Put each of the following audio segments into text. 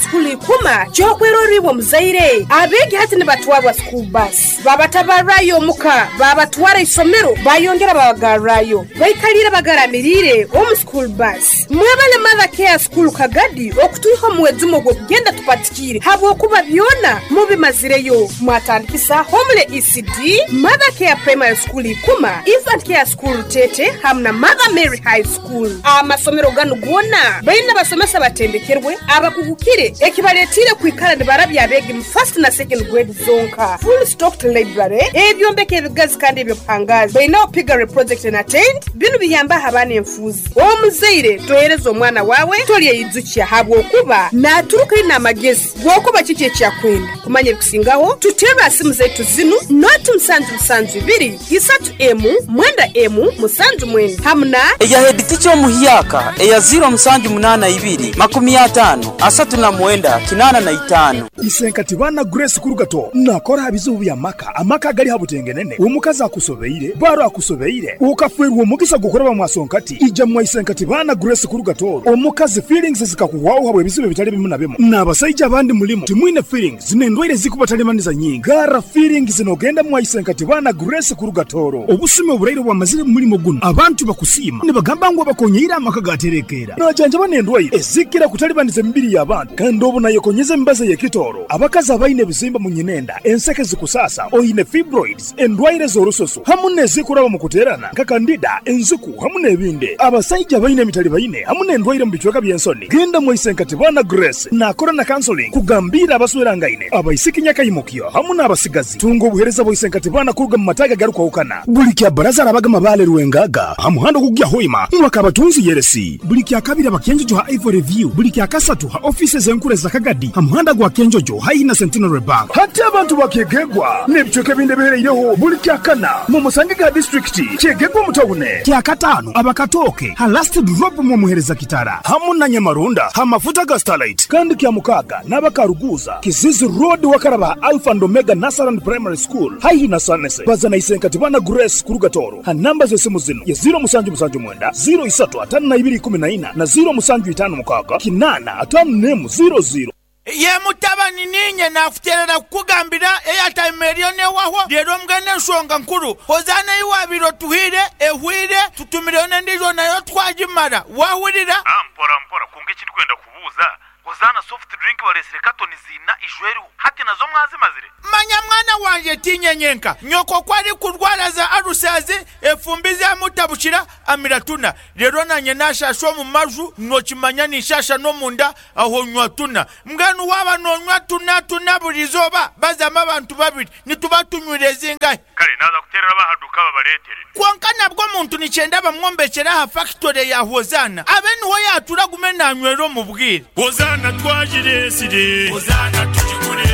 School Ikuma ky'okwerorra iwe omuzaire. Abeegi hati nibatwarwa school bus, babatabarrayo omuka, babatwara isomero, bayongera babagarrayo. Baikaliire bagaramiriire omu school bus. Mwebale Mother Care School Kagadi okutwiha omu mwejumo ogw'okugenda tupatikiire habwokuba byona mubimazireyo. Mwatandikisa Homely ECD, Mother Care Primary School Ikuma, Infant Care School Rutete hamu na Mother Mary High School. Amasomero ganu goona baine abasomesa abatendekerwe abakugukire ekibaletiire kwikara nibarabya abeegi mu first na second grade zonka. Full stocked library, ebyombeko ebigazi kandi eby'obuhangaazi. Baineho piggery project na tent, binu biyambaho abaana enfuuzi. Omuzaire tohereza omwana waawe tolyeyijukya habwokuba naaturuka aine amagezi g'okuba kiki eki akwenda. Kumanya ebikusingaho, tuterre ha simu zaitu zinu, noti musanju musanju ibiri, isatu emu, mwenda emu, musanju mwenda hamu na. Eya headteacher omuhyaka eya ziiro musanju munaana ibiri, makumi ataano, asatu na mwenda, kinaana na itaano. Isenkati baana Grace Kurugato nakora aha bizibu by'amaka, amaka agali ha butengenene, omukazi akusobeire, baro akusobeire, okafwerwa omugisa gw'okuraba mwasonkati, ija mwa Isenkati baana Grace Kurugato, omukazi feelings zikakuhwaho habw'ebizibu ebitali bimu na bimu, n'abasaija abandi mulimu timwine feelings n'endwaire ezikubatalibanisa nyingi, garra feelings n'ogenda mwa Isenkati baana Grace Kurugatoro. Obusumi oburaire obwamazire mu mulimo guno, abantu bakusiima nibagamba ngu abakonyeire amaka gaterekeera. Najanjaba n'endwaire ezikira kutalibaniza emibiri y'abantu kandi obu nayekonyeza emibazi ey'ekitooro. Abakazi abaine ebizimba mu nyinenda, enseke zikusaasa, oine fibroids, endwaire z'orususu hamu n'ezikuraba mu kuteerana nka kandida, enziku hamu n'ebindi. Abasaija abaine emitalibaine hamu n'endwaire mu bicweka by'ensoni, genda mwaise Nkatibana Grace naakora na counseling kugambiira abaswerangaine, abaisiki nyakaimukyo hamu n'abasigazi. Tunga obuheereza bwa Isenkatibana kuruga mu mataagi agarukwahukana. Buli kya Baraza arabaga Mabaale Rwengaga ha muhanda ogukugya Hoima mwaka Abatunzi Yeresi. Buli kya Kabiri aba Kyenjojo ha Ivory View. Buli kya Kasatu ha ofiisi ez'enkuru eza Kagadi ha muhanda gwa Kyenjojo haihi na Centenary Bank. Hati abantu ba Kyegegwa n'ebicweka ebindi ebihereireho buli kya Kana mumusangege ha disiturikiti Kyegegwa omu tawune. Kya Kataano aba Katooke ha Last Drop mwomuhereza Kitara hamu na Nyamarunda ha mafuta ga Starlight. Kandi kya Mukaaga n'aba Karuguuza, Kizizi Road wakaraba ha Alpha and Omega Nursery and Primary School haihi na Sanese. Baza na Isenkatibana Grace kuruga Tooro ha namba z'esimu zinu ye ziiro musanju musanju mwenda, ziiro isatu ataano na ibiri ikumi na ina na ziiro musanju itaano mukaaga kinaana ataano n'emu ziiro ziiro. Ye mutabani, niinye naakuteerera kukugambira eyataima eriyo n'ewahwo. Reero mbwenu enshonga nkuru, Hozaana ei waabaire otuhaire ehweire, tutumireyo n'endiijo nayo twagimara. Waahurira? Mpora mpora, kwonka eki ndikwenda kubuuza, Hozaana soft drink bareetsire katoni ziina ijo eriho, hati nazo mwazimazire? Manya mwana wangye, tiinye nyenka. Nyoko ku arikurwara za alusazi, efumbi zamutabukira, amira tuna. Reero naanye naashaasha omu maju, nookimanya ninshaasha n'omunda, aho nywa tuna. Mbwenu waaba noonywa tuna tuna buri izooba, bazamu abantu babiri, nituba tunywire zingahi? Kare naaza kuteerera ab'aha duuka babareetere. Kwonka nabwo omuntu nikyenda bamwombekyere aha fakitore ya Hozaana, abe niho yaatura agume naanywera omu bwire. Hozaana twagireetsire. Hozaana tugigure.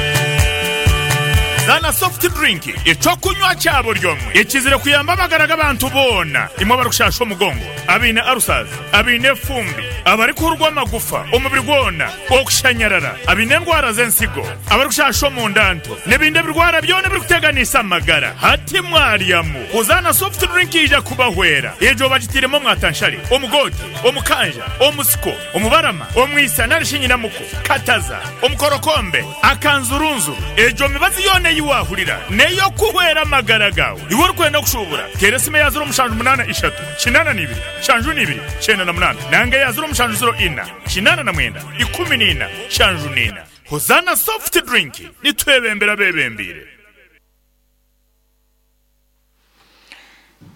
Zaana soft drink, eky'okunywa kya buri omwe ekizire kuyamba amagara g'abantu boona, imwe abarikushaasha omugongo, abaine ulcers, abaine efumbi, abarikuhurwa amagufa omubiri gwona, okushanyarara, abaine endwara z'ensigo, abarikushaasha omunda nto, n'ebindi ebirwara byona ebirikuteganisa amagara. Hati mwaryamu, Hozaana soft drink yaija kubahwera. Egyo bagitairemu omwatanshare, omugoote, omukanja, omusiko, omubarama, omwisa nari shi nyinamuko, kataza, omukorokombe, akanzurunzuru. Egyo mibazi yoona ei waahurira n'ey'okuhwera amagara gaawe. Iwe orikwenda kushuubura, teera esimu eya ziro mushanju munaana ishatu, kinaana na ibiri, nshanju na ibiri, kyenda na munaana nanga eya ziro mushanju ziro ina, kinaana na mwenda, ikumi na ina, nshanju na ina. Hozaana Soft Drink, nitwebembera abeebembeire.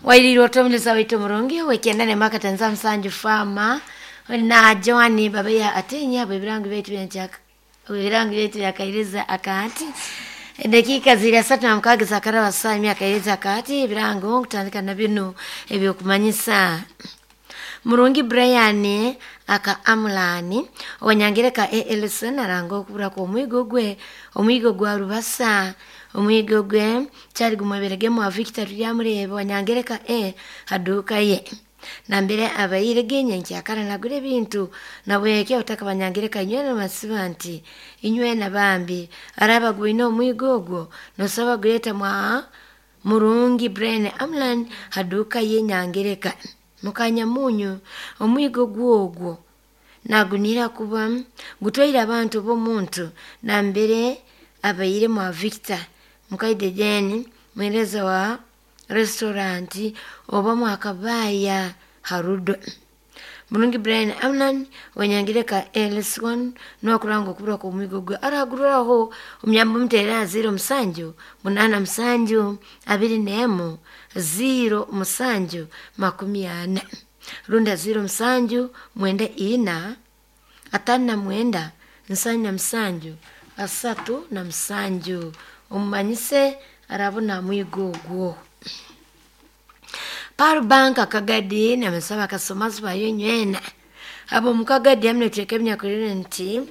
Wairiirwe ota omulisa waitu omurungi ow'ekyenda n'emyaka tanza musanju Farmer na Joan Babeya Atenya bw'ebirango byaitu byenkya bw'ebirango byaitu byakairiza akati edakiika ziri asatu na mukaaga zakaraba saa emyaka iriza akati ebirango nkutandika na binu ebyokumanyisa Murungi Brian aka Amulani owanyangereka ALC naranga okubura kw'omwigo gwe omwigo gwa Rubasa omwigo gwe kyali gumweberegemu wa Victor Turyamureeba owanyangereka A haduuka ye nambere abaire genyenkya nagura ebintu nabwekyo otaka banyangereka inywena masiba nti inywena bambi araba gwine omwigo ogwo nosaba guleta mwa Murungi Brian Amlan haduuka ye nyangereka mukanya munyu omwigo gwogwo Nagunira kuba gutwaire abantu b'omuntu nambere abaire mwa Victor Mukaide Jane mwereza wa restaurant oba mwakabaya Harudo. Mulungi Brian Amnan wanyangire ka LS1 n'okuranga okubura ku mwigo gwe aragururaho omuyambo mutera 0 7 8 7 21 0 7 40 runda 0 7 9 5 9 7 3 7 omumanyise arabona mwigo gwo. Paru banka kagadi na mesaba kasomazi bayo nywena abo mukagadi amne cheke mnyakulire nti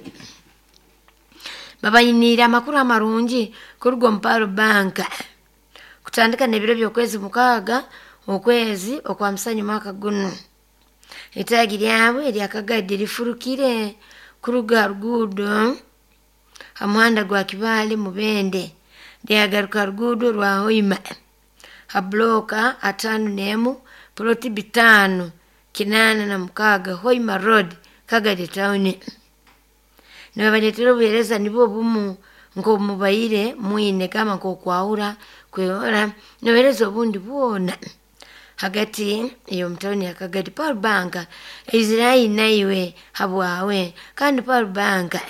babayinira amakuru amarungi kurugo mparu banka kutandika nebiro byokwezi mukaga okwezi okwa musanyu mwaka guno itagi lyabwe lya kagadi lifurukire kuruga rugudo amuhanda gwa Kibale mubende lyagaruka rugudo rwa Hoima habloka 51 ploti 5 86 Hoima Road Kagadi Town. Nibabaletera obuhereza nibwo bumu nko mubayire mwine kama nko kwaura kwehora nibahereza obundi bwona hagati iyo mtoni ya Kagadi. Paul Banka Israeli naiwe habwawe kandi Paul Banka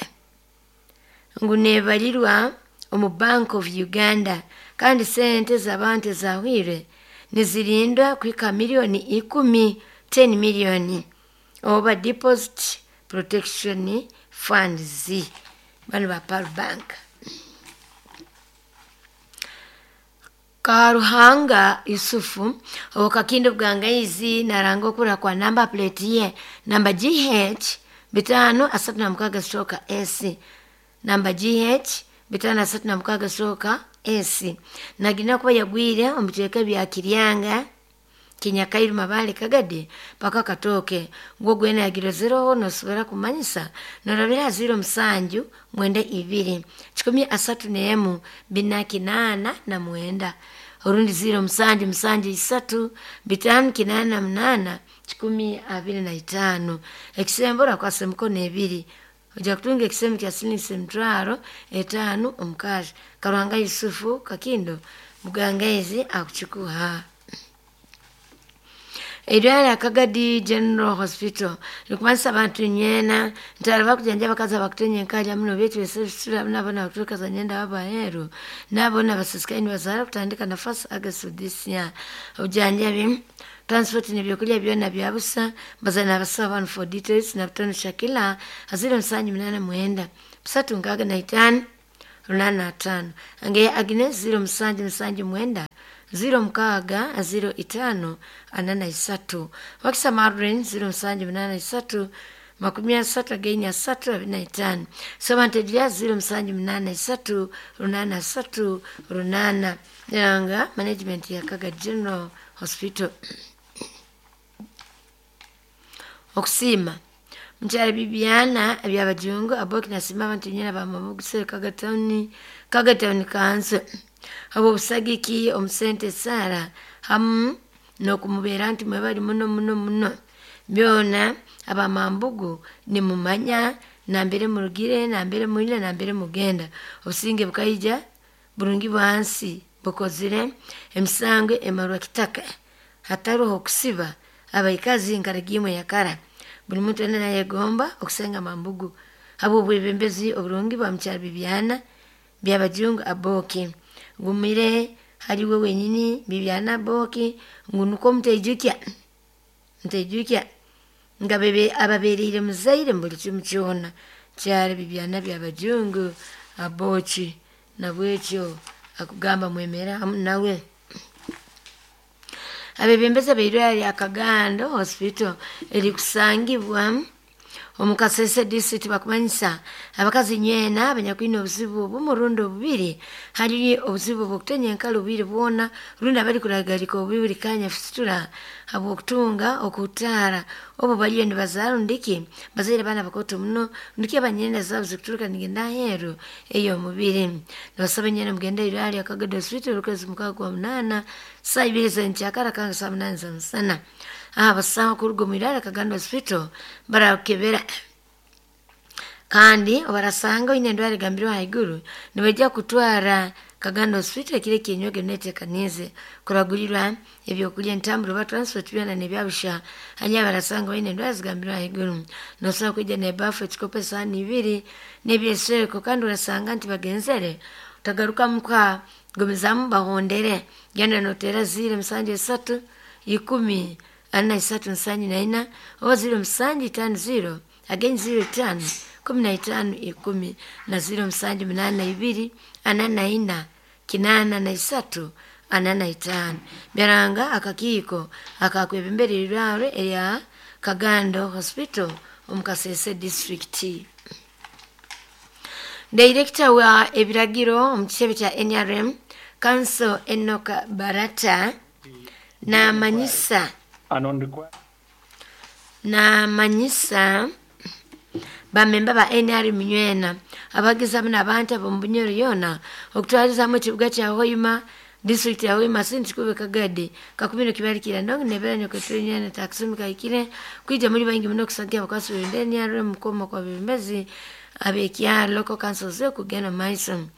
ngunebalirwa omu Bank of Uganda kandi sente z'abantu zahwire nizirindwa kwika milioni 10 10 milioni oba deposit protection funds bano ba Pearl Bank. Karuhanga Yusufu okakindo bwangaizi naranga okura kwa number plate ye namba GH 536 stroke S namba GH 536 stroke S nagina kuba yagwire omuteeka bya Kiryanga Kinyakairu Mabale Kagadi paka katoke ngwo gwena yagirozeroho nosobora kumanyisa norabira 0 7 9 2 31 4 89 orundi 0 7 7 3 5 8 25 ekisembora kwase mkono 2 oja kutunga ekisemu kya silingi 50 omukazi. Karuhanga Yusufu Kakindo mugangaizi akuchikuha. Edwala Kagadi General Hospital likumanisa abantu nyena ntaraba kujanja bakaza bakutenye nkaja muno betu esura nabona kutuka za nyenda baba heru nabona basisikaini bazara kutandika nafasi August this year ujanja bim transport ni byokulya byona byabusa bazana basaba abantu for details na butano Shakila 0 7 8 9 3 6 8 ange Agnes 0 7 7 9 0 6 0 5 43 wakisa Marlin 0 7 8 3 30 3 25 sobantedia 0 7 8 3 8 8 neranga management ya Kagadi General Hospital. Okusima mchara bibiana ebyabajungu aboki nasima abantu nyina bamabuguse Kagadi kanso abo busagiki omusente Sara hamu nokumubera nti mwebali muno muno muno byona abamambugu nimumanya nambere murugire nambere muile nambere mugenda obusinge bukaija burungi bwansi bukozire emisango emarwa kitaka hataroho okusiba abaikazi nkaragimwe yakara buli muntu ena nayegomba okusenga mambugu abo bwebembezi oburungi bwa mchara bibiana byabajungu aboki ngumire haliwe wenyini bibiana boki ngunuko mutejukya nga bebe ababerire muzaire mbuli kimu kyona kyali bibiana byabajungu aboki nabwekyo akugamba mwemera nawe. Abebembeza beirwali Akagando Hospital erikusangibwa omukasese district bakumanyisa abakazi nyena abanyakwina obuzibu obumurundo bubiri hali obuzibu bw'okutenya enkalo bubiri bwona rundi abali kulagalika obubi kanya fistula habw'okutunga okutaara obu baliyo nibazaara ndiki bazaire baana bakoto muno ndiki abanyena zaabo zikuturuka nigenda aheeru ey'omubiri nibasaba nyena mugende irwali Akagado Hospital okwezi 6 saa 2 z'enkyakara kanga saa 8 za musana abasawo kuruga omu irwali Akagando Hospital barakebera Kandi obarasanga oine endwara egambirwe haiguru nibaija kutwara Kagando Hospital ekiro ekinyoge netekanize kuragurirwa ebyokulya, entambura oba transport byona nebyabusha. Hanya barasanga baine endwara zigambirwe haiguru, nosobola kwija nebafu, ekikopo, esaani ibiri nebyesweko. Kandi orasanga nti bagenzere utagaruka muka, gumizamu bahondere, genda notera 073 10 43 74 oba 0750 again 05 15 10 na 0782 44 83 45. Byaranga akakiiko akakwebembera erirwaro erya Kagando Hospital omu Kasese district. Director wa ebiragiro omu kitebe kya NRM Council Enoka Barata namanyisa bamemba ba NRM nywena abagizamu n'abantu ab'omu Bunyoro yona okutwalizamu ekibuga kya Hoima, district ya Hoima, sinti kube Kagadi kakumiro kibalikira ndongo nebera nyokotwe nyana taksumi kaikire kwija muri bangi muno kusagia abakwasi b'ebendera NRM mukoma kwa bebembezi abekya local councils kugenda maiso.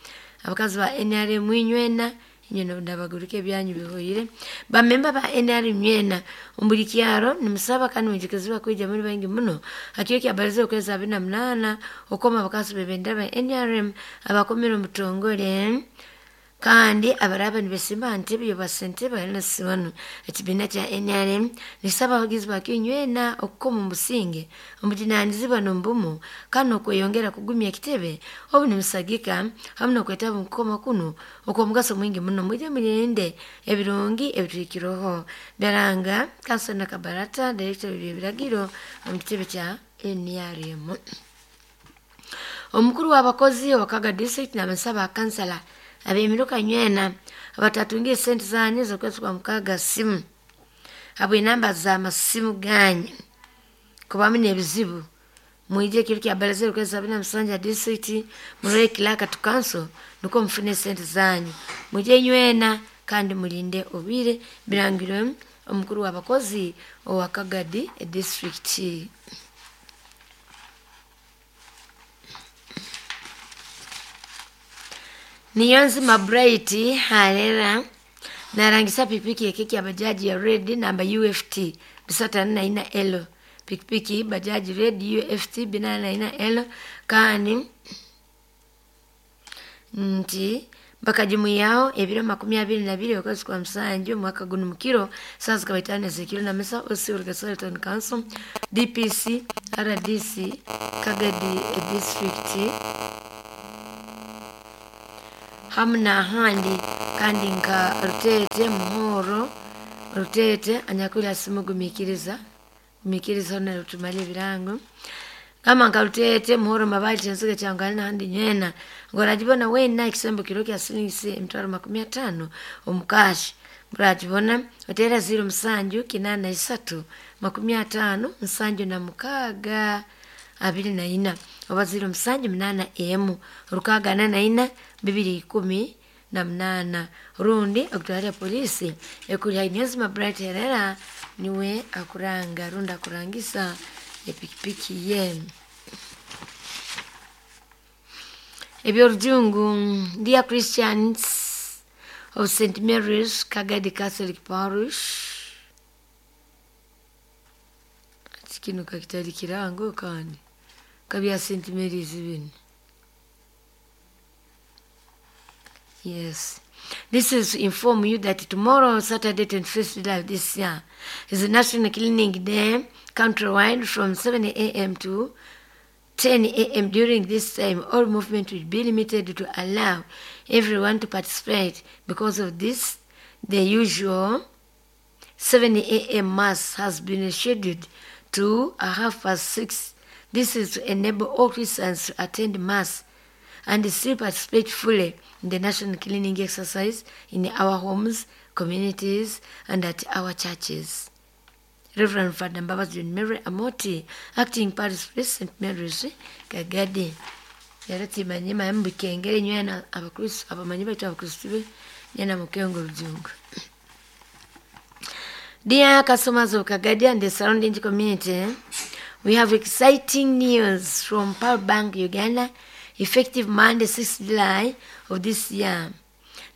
Abakazi ba NRM nywena inyo ndabaguruke ebyanyu bihoyire. Bamemba ba NRM nywena ombuli kyaro nimusaba kandi mwijukiziwa kwija muri bangi muno hakiro kya barizo okwezi 28 okoma abakazi b'ebendera ba NRM abakomera omutongole kandi abaraba nibesimba ntebe yobasente balinasibanu. Ekibiina kya NRM nisaba abagizi bakyo nywena okukoma omusinge omujunanizibwa n'omubumu kandi okweyongera kugumya ekitebe obu nimusagika hamu n'okwetaba omu kukoma kuno okw'omugaso mwingi muno. Mwije mulinde ebirungi ebitwikiroho. Byaranga Kansona Kabarata, director w'ebiragiro omu kitebe kya NRM. Omukuru w'abakozi owa Kaga district n'abasaba kansala abemiruka nywena abatatungiye sente zanyu z'okwezi kwa mukaga simu habwe enamba za masimu ganyu kubamu n'ebizibu, mwije ekiro kya baraza okwezi 27 district murole clerk to council nukwo mufune sente zanyu. Mwije nywena kandi mulinde obwire. Birangirwe omukuru w'abakozi owa Kagadi district. Niyonzima Bright harera narangisa pikipiki ya keki ya bajaji ya red namba UFT 344L, pikipiki bajaji red UFT 444L kandi nti bakajimuyaho ebiro 22 okwezi kwa musanju mwaka guno mukiro saa zikaba 5 z'ekiro na mesa osi Rugasore Town Council DPC RDC Kagadi district hamu n'ahandi kandi nka Rutete Muhoro Rutete anyakwira simu gumikiriza gumikiriza na rutumale ebirango kama nka Rutete Muhoro Mabali chensiga changali n'ahandi nywena ngorajibona wena ekisembo kiro kya silingi emitwaro 50 omukashi murajibona otera 07 83 50 76 24 oba 07 8 6 44 218 rundi okutwara polisi ekuri Niyonzima Bright Herera niwe akuranga rundi akurangisa epikipiki ye. Ebyorujungu, dear Christians of St. Mary's Kagadi Catholic Parish, kino kakitali kirango kandi kabya St. Mary's bino. Yes. This is to inform you that tomorrow, Saturday, 25th July this year, is a National Cleaning Day countrywide from 7 a.m. to 10 a.m. During this time, all movement will be limited to allow everyone to participate. Because of this, the usual 7 a.m. Mass has been scheduled to 6:30. This is to enable all Christians to attend Mass and still participate fully in the national cleaning exercise in our homes, communities, and at our churches. Reverend Father Mbabazi John Mary Amoti, acting parish priest, St. Mary's, Kagadi. Yaratimanye mayambukengere nywena abakristo abamanyi baitu abakristo be nyana mukengo rujungu. Dear customers of Kagadi and the surrounding community, We have exciting news from Pearl Bank Uganda, effective Monday, 6 July of this year,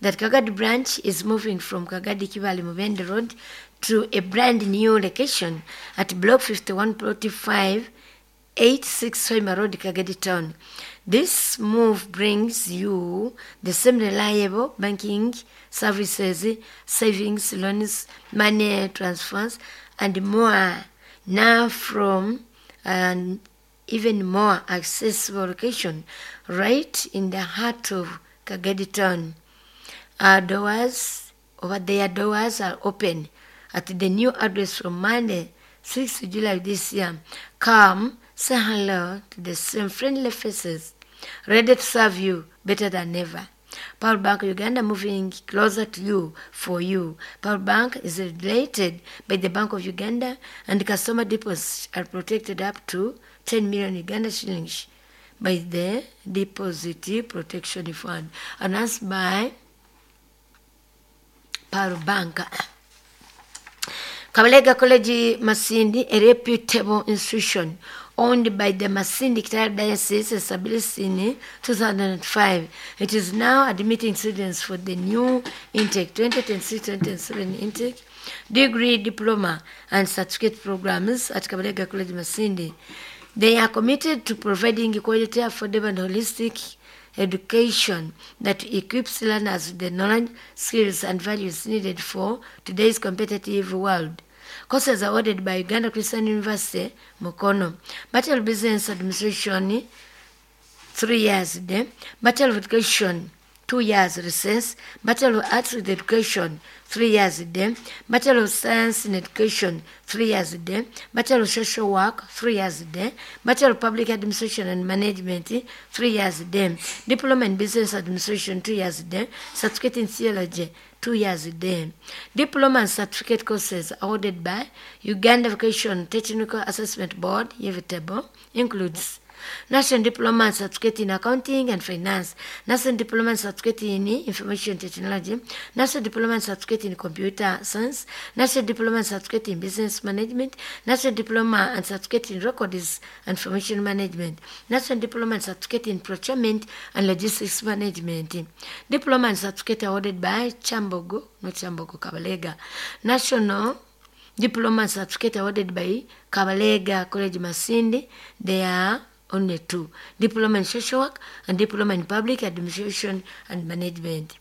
that Kagadi branch is moving from Kagadi Kibale Mubende Road to a brand new location at Block 51, Plot 5, 86 Hoima Road, Kagadi Town. This move brings you the same reliable banking services, savings, loans, money transfers, and more, now from an even more accessible location right in the heart of Kagadi Town. Our doors, over their doors are open at the new address from Monday, 6th July this year. Come, say hello to the same friendly faces, ready to serve you better than ever. Pearl Bank Uganda, moving closer to you for you. Pearl Bank is regulated by the Bank of Uganda, and customer deposits are protected up to 10 million Uganda shillings by the Deposit Protection Fund. Announced by Pearl Bank. Kabalega College Masindi, a reputable institution owned by the Masindi Kitara Diocese, established in 2005. It is now admitting students for the new intake, 2026-2027 intake, degree, diploma, and certificate programs at Kabalega College Masindi. They are committed to providing quality, affordable, and holistic education that equips learners with the knowledge, skills, and values needed for today's competitive world. Courses awarded by Uganda Christian University, Mukono. Bachelor of Business Administration, 3 years there. Bachelor of Education, 2 years recess. Bachelor of Arts with Education, 3 years there. Bachelor of Science in Education, 3 years there. Bachelor of Social Work, 3 years there. Bachelor of Public Administration and Management, 3 years there. Diploma in Business Administration, 2 years there. Certificate in Theology, 2 years there. Diploma and certificate courses awarded by Uganda Vocation Technical Assessment Board, UVTAB, includes National Diploma and Certificate in Accounting and Finance, National Diploma and Certificate in Information Technology, National Diploma and Certificate in Computer Science, National Diploma and Certificate in Business Management, National Diploma and Certificate in Records and Information Management, National Diploma and Certificate in Procurement and Logistics Management, Diploma and Certificate awarded by Chambogo, not Chambogo, Kabalega, National Diploma and Certificate awarded by Kabalega College Masindi. They are only two: Diploma in Social Work and Diploma in Public Administration and Management.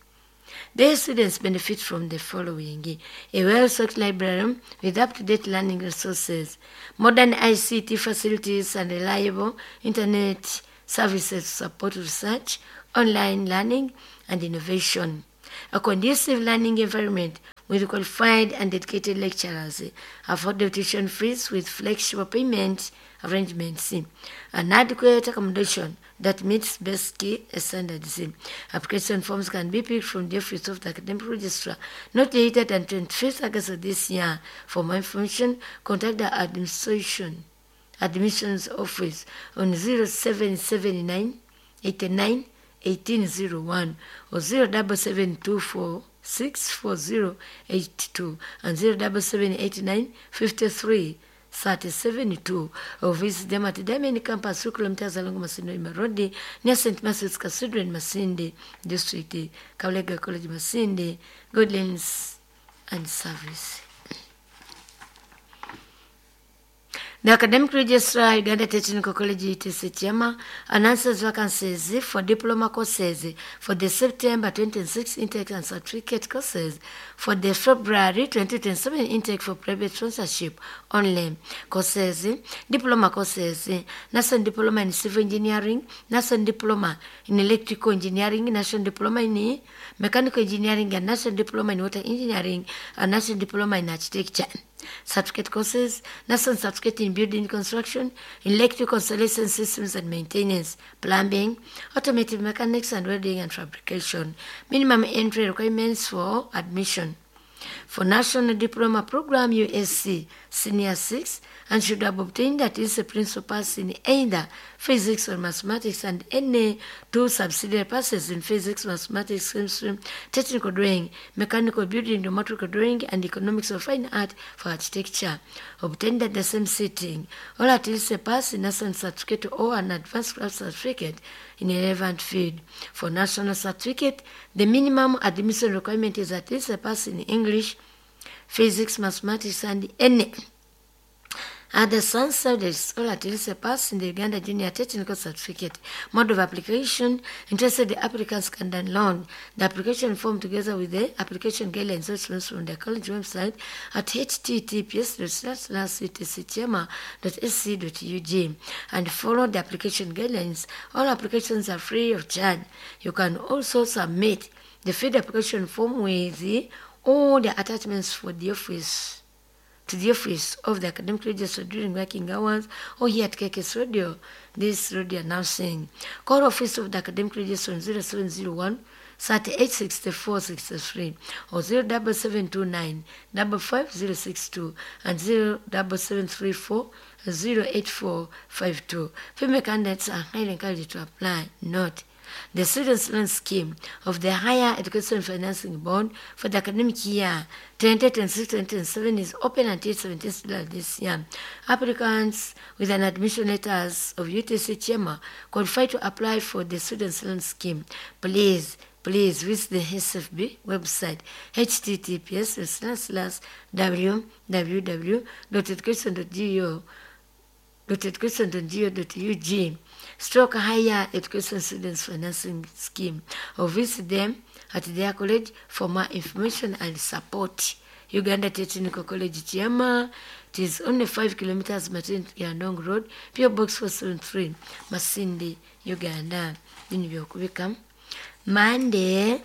Their students benefit from the following: a well-stocked library with up-to-date learning resources, modern ICT facilities and reliable internet services to support research, online learning, and innovation, a conducive learning environment with qualified and dedicated lecturers, affordable tuition fees with flexible payment arrangements, an adequate accommodation that meets basic standards. Application forms can be picked from the office of the academic registrar not later than 25th August of this year. For more information, contact the admissions office on 0779 89 1801 or 07724 64082 and 07789 53 372, or visit them at the Diamond Campus, 2 kilometers along Masindi Road, near St. Matthew's Cathedral in Masindi District, Kabalega College Masindi, Guidelines and Service. The Academic Registrar, Uganda Technical College, UTC Kyama, announces vacancies for diploma courses for the September 2026 intake and certificate courses for the February 2027 intake for private sponsorship only. Courses, diploma courses, National Diploma in Civil Engineering, National Diploma in Electrical Engineering, National Diploma in Mechanical Engineering, and National Diploma in Water Engineering, and National Diploma in Architecture. Certificate courses, National Certificate in Building Construction, Electrical Installation Systems and Maintenance, Plumbing, Automotive Mechanics and Welding and Fabrication. Minimum entry requirements for admission: For National Diploma Program USC Senior 6 and should have obtained at least a principal pass in either physics or mathematics and any two subsidiary passes in physics, mathematics, chemistry, technical drawing, mechanical building, geometrical drawing, and economics of fine art for architecture. Obtained at the same sitting, or at least a pass in national certificate or an advanced class certificate in a relevant field. For national certificate, the minimum admission requirement is at least a pass in English, physics, mathematics, and any other science subjects, or at least a pass in the Uganda Junior Technical Certificate. Mode of application: interested applicants can download the application form together with the application guidelines from the college website at https://ctcchema.sc.ug and follow the application guidelines. All applications are free of charge. You can also submit the filled application form with all the attachments for the office to the office of the academic registrar during working hours or here at KKS Radio, this radio announcing. Call office of the academic registrar on 0701 3864 63 or 07729 55062 and 07734 08452. Female candidates are highly encouraged to apply. Note: the Students' Loan Scheme of the Higher Education Financing Board for the academic year 2026-2027 is open until 17th July this year. Applicants with an admission letters of UTC Chema qualify to apply for the Students' Loan Scheme. Please visit the SFB website https://www.education.go.education.go.ug stroke higher education students financing scheme, or visit them at their college for more information and support. Uganda Technical College Chiama. It is only 5 kilometers Martin Yandong Road, PO Box 473, Masindi, Uganda. Bino byokubika. Monday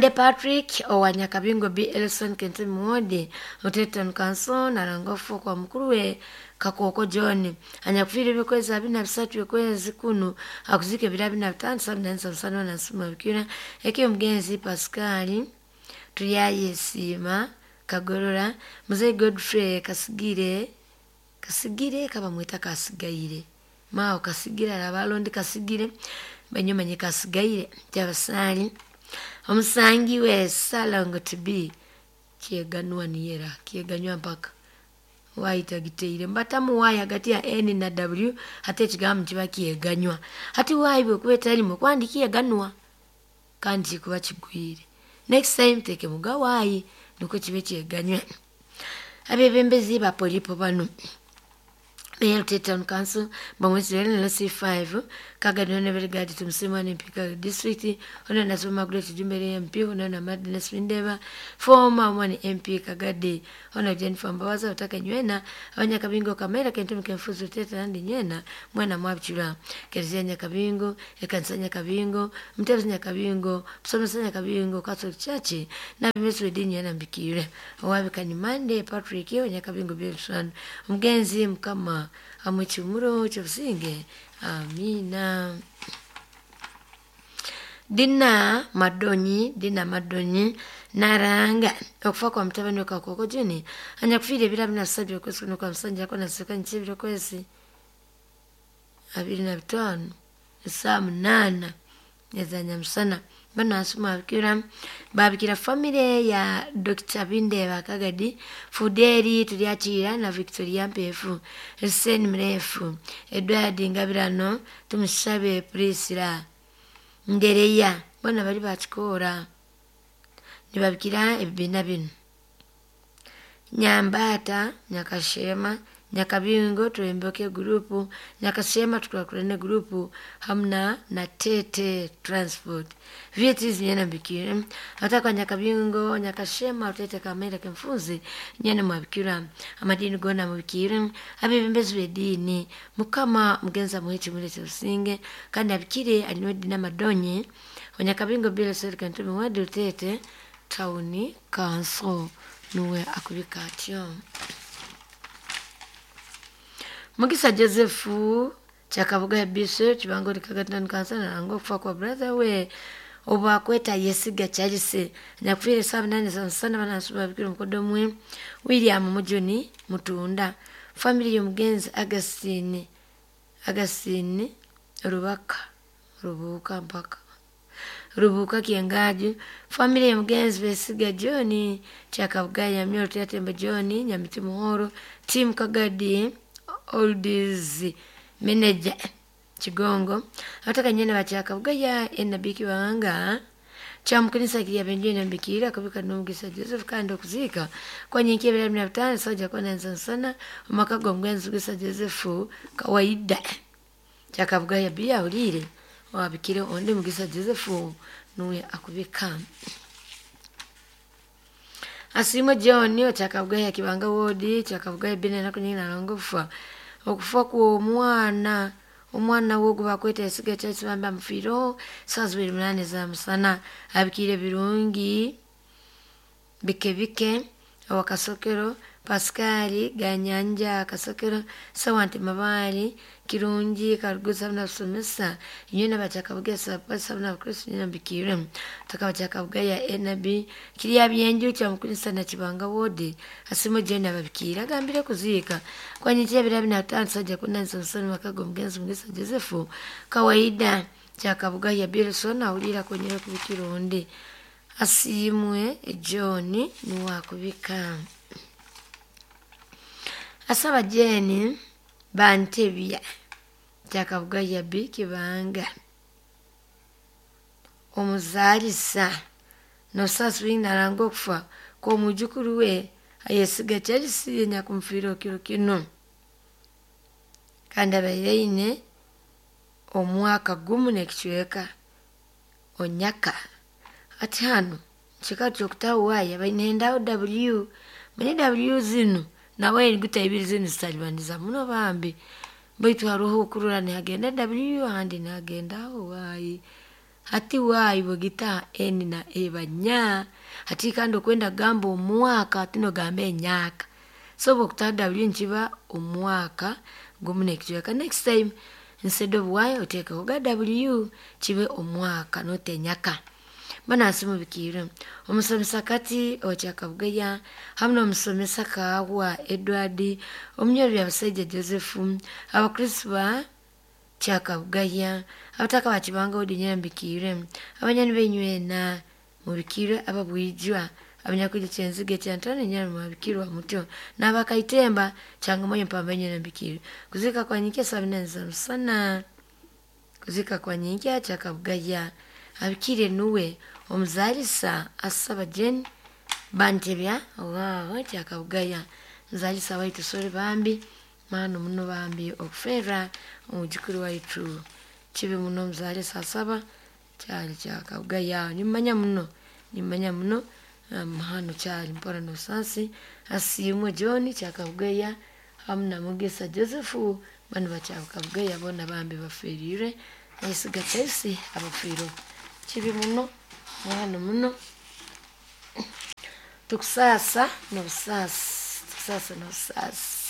Patrick owa Nyakabingo B. Elson Kente Muwodi Oteton Council narangofu kwa mukuru Kakoko John anyakufiire ebikwezi 23 ekwezi kuno akuzika ebiro 25 7 na nsuma bikira eke omugenzi Pascal Tuyayesiima Kagorora Mzee Godfrey Kasigire kaba mwita Kasigaire mao Kasigire abalondi Kasigire banyumanye Kasigaire kyabasali omusangi we Salongo to be kyeganwa niyera kyeganywa mpaka waita giteire mbatamu wayi hagati ya N na W hata ekigambo kiba kyeganywa hati wayi bwekuba etalimu kwandi kyeganwa kandi kikuba kigwire. Next time teke muga wayi nuko kibe kyeganywa. Abebembezi ba polipo bano Mayor Town Council bamwezi na C5 kagadona Beregadi tumsema ni mpika district ono nasoma Great Jumbere MP ono na Madness Windeva former one MP Kagadi ono Jennifer Mbawaza utaka nywena abanyakabingo kamera kentu mkenfuzu teta nandi nywena mwana mwabchula kerezia Nyakabingo ekanisa Nyakabingo mtebezi Nyakabingo msomesa Nyakabingo Catholic Church na bimesu dini yana mbikire owabikani Monday Patrick Nyakabingo Bilson mgenzi mkama amwechumuro chobusinge amina. Dina Madonyi naranga okufa kwa mtabani Kakoko Juni anyakufiire ebiro 27 okwezi kuno kwa musanja ko naseka nchibiro kwezi 25 saa 8 ezanyamusana bano asoma abikira babikira family ya Dr. Bindeba Kagadi Fuderi Tulyakira na Victoria Mpefu Hussein Mrefu Edward Ngabirano Tumusabe Priscilla Ndereya bana bali bakikora nibabikira ebibina bino Nyambata Nyakashema Nyakabingo Tuemboke grupu Nyakashema Tukulakulane grupu hamna na Tete Transport vieti zinyana mbikira hata kwa Nyakabingo Nyakashema Tete kamera kemfuzi nyana mwabikira amadini gona mubikira abebembezi bedini mukama mugenza muhichi mulete usinge kandi abikire alinwe dina Madonyi Nyakabingo bila serikali ntumi wadi Tete Town Council nuwe akubika atyo. Mugisa Joseph Chakabuga Bishop Chibango Kagatan Kansa nango kufa kwa brother we Obakweta Yesiga Charles nyakufiire saa 8 za msana banasuba bikiro mukodomwe William Mujuni Mutunda family y'omugenzi Augustine Rubaka Rubuka mpaka Rubuka Kiengaju family y'omugenzi Besiga John Chakabugaya Myoro Teatemba John Nyamiti Muhoro Tim Kagadi Oldies Manager Chigongo abatakanyene bachakabugaya enabiki wanga chamukanisa kiriya benjwe nambikira kabika n'omugisa Joseph kandi okuzika kwa nyenki ebira 15 soja kwa nansana omaka g'omugenzi Mugisa Joseph kawaida chakabugaya biya ulire wabikire onde Mugisa Joseph nuwe akubika. Asimo John chakabugaya kibanga wodi chakabugaya bine nakunyina nalongofa okufa ku omwana wo gubakweta esiga kyakibamba mufiro saa 28 za musana abikire birungi bike awakasokero Pascali Ganyanja Kasokero Sawanti Mabali Kirungi Karuguza na Somesa nyina bachakabugesa pasa na Kristo nyina bikire takabachakabugaya enabi kiriya byenju kya mukunisa na kibanga wodi asimo jena babikira gambire kuzika kwanye kyebira bina saja kunansa nsoni makago mugenzi Mugisa Joseph kawaida kyakabugaya Bilson awulira konyera kubikironde asimwe John niwakubika. Asaba Jeni Bantebya kyakabugaya bikibanga omuzalisa nosaswi nalanga okufa kw'omujukuru we ayesiga Charles nyakumfiira kiro kino kandi abaire omwaka gumu n'ekicweka onyaka ati hano kika kyokutawaaya bainendaho W manye W zino nawe eniguta ibiri zino zitalibaniza muno bambi baitu haroho okurora nihagenda W ahandi nihagendaho Y hati Y bwegita N na E banya hati kandi okwenda kugamba omwaka tinogamba enyaka so bwokuta W nkiba omwaka gumu n'ekicweka. Next time instead of Y otekeho ga W kibe omwaka not enyaka. Banansi mubikire omusomesa kati okyakabugaya hamwe n'omusomesa Kawa Edward omunyoro bya Basajja Joseph abakristo ba kyakabugaya abataka bakibanga odinya mbikire abanyani benywena mubikire ababwijwa abanyakuja kyenzige kyantana nyana mubikirwa mutyo n'abakaitemba changamoyo mpambenye mbikire kuzika kwa nyike 74 za musana kuzika kwa nyike kyakabugaya abikire nuwe omuzalisa asaba Jen Bantebya owawo kyakabugaya muzalisa waitu sore bambi mano muno bambi okufera omujukuru waitu kibi muno muzalisa asaba kyali kyakabugaya nimanya muno mahano kyali mpora nosansi asimwe John kyakabugaya hamwe na Mugisa Joseph bano bakyakabugaya bona bambi baferire ayisiga Chelsea abafiro kibi muno mwana muno tukusasa n'obusasi tukusasa n'obusasi.